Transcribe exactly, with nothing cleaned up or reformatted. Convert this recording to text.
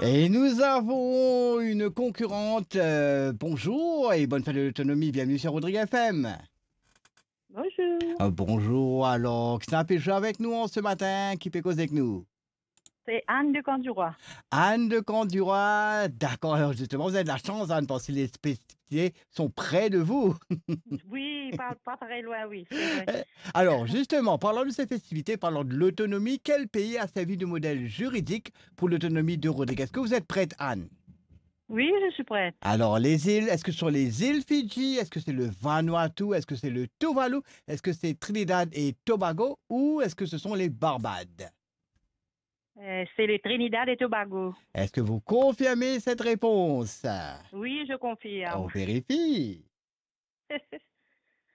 Et nous avons une concurrente. Euh, bonjour et bonne fête de l'autonomie. Bienvenue sur Rodrigue F M. Bonjour. Euh, bonjour. Alors, qui pe zwe avek nou ce matin? Qui pe koz avek nou? C'est Anne de Camp du Roi. Anne de Camp du Roi. D'accord. Alors, justement, vous avez de la chance, Anne, parce que les spécificités sont près de vous. Oui, pas, pas très loin, oui, c'est vrai. Euh, alors, justement, parlant de ces festivités, parlant de l'autonomie, quel pays a servi de modèle juridique pour l'autonomie de Rodrigue? Est-ce que vous êtes prête, Anne? Oui, je suis prête. Alors, les îles, est-ce que ce sont les îles Fidji? Est-ce que c'est le Vanuatu? Est-ce que c'est le Tuvalu? Est-ce que c'est Trinidad et Tobago? Ou est-ce que ce sont les Barbades? Euh, c'est le Trinidad et Tobago. Est-ce que vous confirmez cette réponse? Oui, je confirme. On vérifie.